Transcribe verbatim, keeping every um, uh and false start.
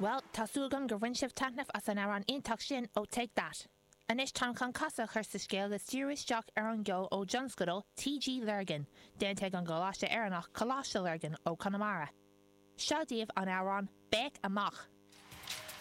Well, tá súil agam gur bhain sibh taitneamh as an amhrán iontach sin ó Take That. Anois táim chun casadh a chur sa scéal is díriú isteach ar an gceol ó thionscadal TG Lurgan, déanta ag an gColáiste Éireannach Coláiste Lurgan ó Conamara. Seo daoibh an amhrán Béic Amach.